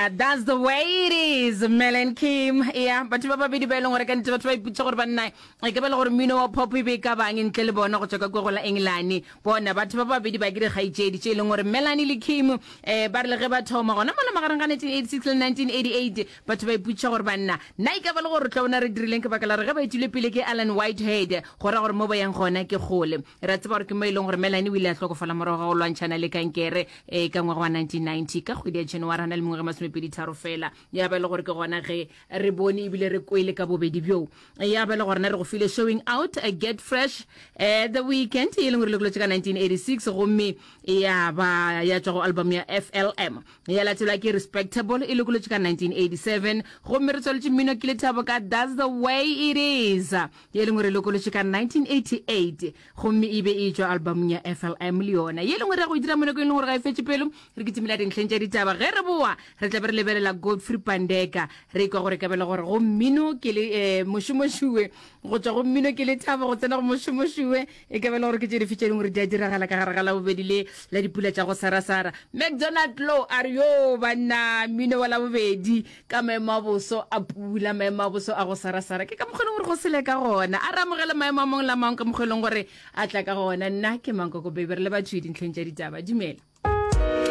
Uh, that's the way it is Mel and Kim ya batho ba babedi ba e leng gore ka nnete batho ba ipotsa gore banna e ka ba le gore mmino wa pop e be e ka bang ntle le bona go tswa ka kwa go la Engelane bona batho ba babedi ba ke dikgaetšedi tše e leng gore Melanie le Kim um ba re le ge ba thoma gona mola magareng ga 1986 le 1988 batho ba ipotša gore banna na e ka ba le gore tla bona re dirileng ke baka la gore ge ba etile pele ke Alan Whitehead go ra gore mo ba yang gona ke kgole Re a tseba gore ke mo e leng gore Melanie o ile a hlokofala morago ga go lwantšhana le kankere e ka ngwaga wa 1990 ka kgwedi ya January a na le mengwaga e masomepeditharo fela. Ya ba e le gore ke gona ge re bone ebile re kwele ka bobedi bjoo. Ya ba e le gorena re go file Showing Out, Get Fresh, eh, The Weekend e leng gore lokolotše ka 1986 gomme ya ba ya tšwa go album ya FLM. Ya latelwa ke Respectable e lokolotše ka 1987 gomme re tswaletše mmino ke Lethabo ka That's the Way It Is. Ye lengwe re lokolotše ka 1988 gomme e be e tšwa albamong ya FLM le yona. Ye lengwe re ya go e dira mo nakong e leng gore ga e fetše pelo, re kitimela dintlheng tša ditaba. Ge re boa re tla be re lebelela Godfrey Pandeka, re kwa gore ka bela gore go mmino ke le eh, mošomošuwe, go tšwa go mmino ke lethabo go tsena go mošomošuwe, e ka bela gore ke tše dife tše dingwe gore di a diragala ka gare ga Labobedi le la dipula tša go sarasara. McDonald Low a re yo banna mmino wa Labobedi Ka maemo a boso a pula, maemo a boso a go sarasara, ke ka mokgwa e leng gore go sele ka gona. A re amogele maemo a mangwe le a mangwe ka mokgwa e leng gore a tla ka gona. Nna ke Mankoko Baby, re le batho dintlheng tša ditaba. Dumela.